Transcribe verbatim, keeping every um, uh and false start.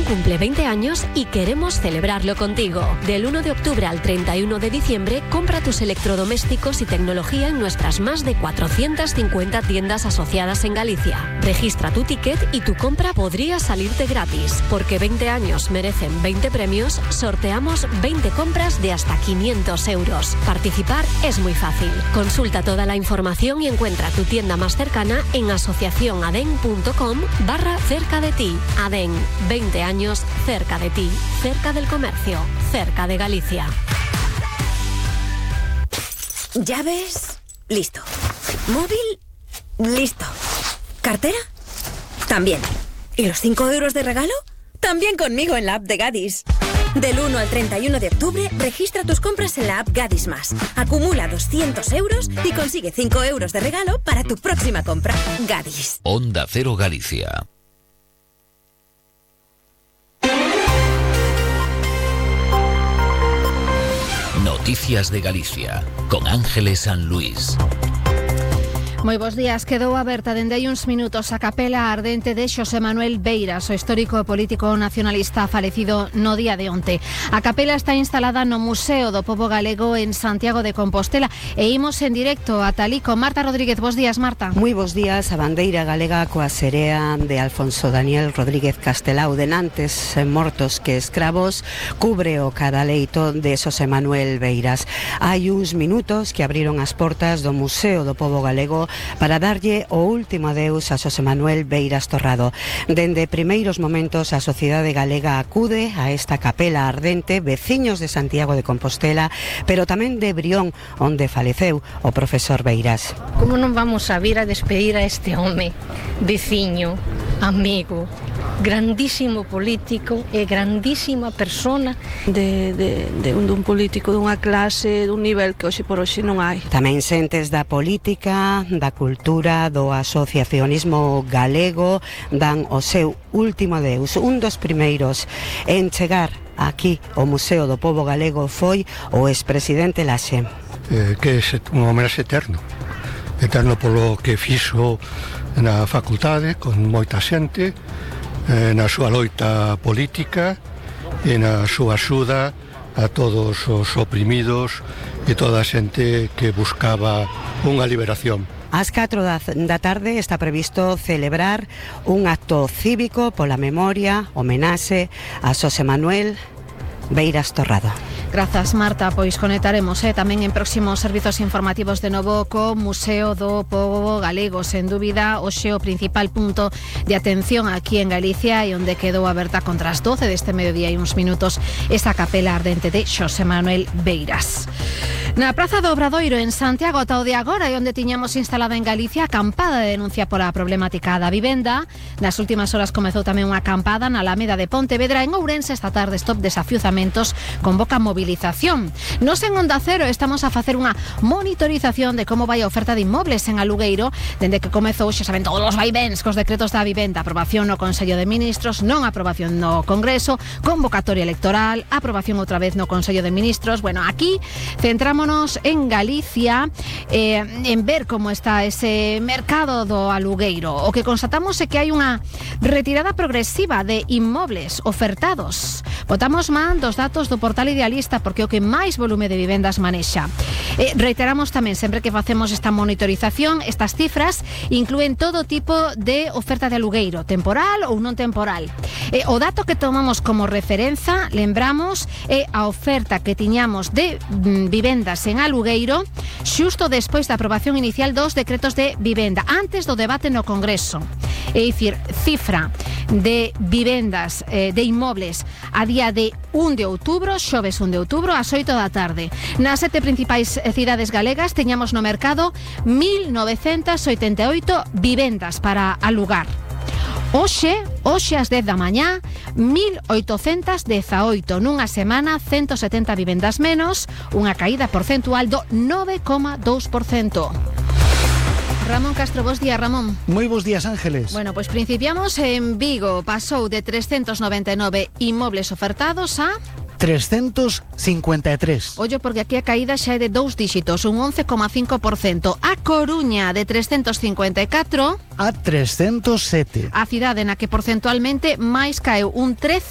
Vedén cumple veinte años y queremos celebrarlo contigo. Del uno de octubre al treinta y uno de diciembre, compra tus electrodomésticos y tecnología en nuestras más de cuatrocientas cincuenta tiendas asociadas en Galicia. Registra tu ticket y tu compra podría salirte gratis. Porque veinte años merecen veinte premios, sorteamos veinte compras de hasta quinientos euros. Participar es muy fácil. Consulta toda la información y encuentra tu tienda más cercana en asociacionaden.com barra cerca de ti. Aden, veinte años cerca de ti, cerca del comercio, cerca de Galicia. ¿Llaves? Listo. ¿Móvil? Listo. ¿Cartera? También. ¿Y los cinco euros de regalo? También conmigo en la app de Gadis. Del uno al treinta y uno de octubre, registra tus compras en la app Gadis Más. Acumula doscientos euros y consigue cinco euros de regalo para tu próxima compra. Gadis. Onda Cero Galicia. Noticias de Galicia, con Ángeles San Luis. Moi bos días. Quedou aberta dende hai uns minutos a capela ardente de Xosé Manuel Beiras, o histórico e político nacionalista falecido no día de onte. A capela está instalada no Museo do Pobo Galego en Santiago de Compostela e imos en directo a Talí con Marta Rodríguez. Bos días, Marta. Moi bos días. A bandeira galega coa serea de Alfonso Daniel Rodríguez Castelao, denantes mortos que escravos, cubre o cadaleito de Xosé Manuel Beiras. Hai uns minutos que abriron as portas do Museo do Pobo Galego para darlle o último adeus a Xosé Manuel Beiras Torrado. Dende primeiros momentos a sociedade galega acude a esta capela ardente, veciños de Santiago de Compostela, pero tamén de Brión, onde faleceu o profesor Beiras. Como non vamos a vir a despedir a este home, veciño, amigo, grandísimo político e grandísima persona de, de, de, un, de un político dunha clase, dun nivel que hoxe por hoxe non hai. Tamén xentes da política, da cultura, do asociacionismo galego dan o seu último adeus. Un dos primeiros en chegar aquí ao Museo do Pobo Galego foi o expresidente Laxe. Eh, que é un homenaxe eterno, eterno polo que fixo na facultade con moita xente, na súa loita política e na súa axuda a todos os oprimidos e toda a xente que buscaba unha liberación. Ás catro da tarde está previsto celebrar un acto cívico pola memoria, homenaxe a Xosé Manuel Beiras Torrado. Grazas, Marta. Pois conectaremos eh, tamén en próximos servizos informativos de novo co Museo do Pobo Galego. Sen dúbida, hoxe o principal punto de atención aquí en Galicia e onde quedou aberta contra as doce deste mediodía e uns minutos esa capela ardente de Xosé Manuel Beiras. Na Praza do Obradoiro en Santiago ata o de agora e onde tiñamos instalada en Galicia a acampada de denuncia pola problemática da vivenda. Nas últimas horas comezou tamén unha acampada na Alameda de Pontevedra. En Ourense esta tarde Stop Desafiuzamentos convoca movilización. Nos en Onda Cero estamos a facer unha monitorización de como vai a oferta de inmobles en alugueiro dende que comezou, xa saben, todos os vaivens cos decretos da vivenda, aprobación no Consello de Ministros, non aprobación no Congreso, convocatoria electoral, aprobación outra vez no Consello de Ministros. Bueno, aquí centramos en Galicia, eh, en ver como está ese mercado do alugueiro. O que constatamos é que hai unha retirada progresiva de inmobles ofertados. Botamos man dos datos do portal Idealista porque é o que máis volume de vivendas manexa. Eh, reiteramos tamén, sempre que facemos esta monitorización, estas cifras inclúen todo tipo de oferta de alugueiro, temporal ou non temporal. Eh, o dato que tomamos como referenza, lembramos, é a oferta que tiñamos de mm, vivendas en alugueiro xusto despois da aprobación inicial dos decretos de vivenda, antes do debate no Congreso. É dicir, cifra de vivendas, eh, de inmobles a día de un de outubro, xoves un de outubro, ás oito da tarde. Nas sete principais cidades galegas teñamos no mercado mil novecentas oitenta e oito vivendas para alugar. Hoxe, hoxe ás dez da mañá, mil oitocentas dezaoito. Nunha semana, ciento setenta vivendas menos, unha caída porcentual do nove coma dous por cento. Ramón Castro, bos días, Ramón. Moi bos días, Ángeles. Bueno, pois principiamos en Vigo. Pasou de trescentos noventa e nove inmobles ofertados a trescentos cincuenta e tres. Ollo, porque aquí a caída xa é de dous díxitos, un once coma cinco por cento. A Coruña, de trescentos cincuenta e catro a trescentos sete. A cidade na que porcentualmente máis caeu, un trece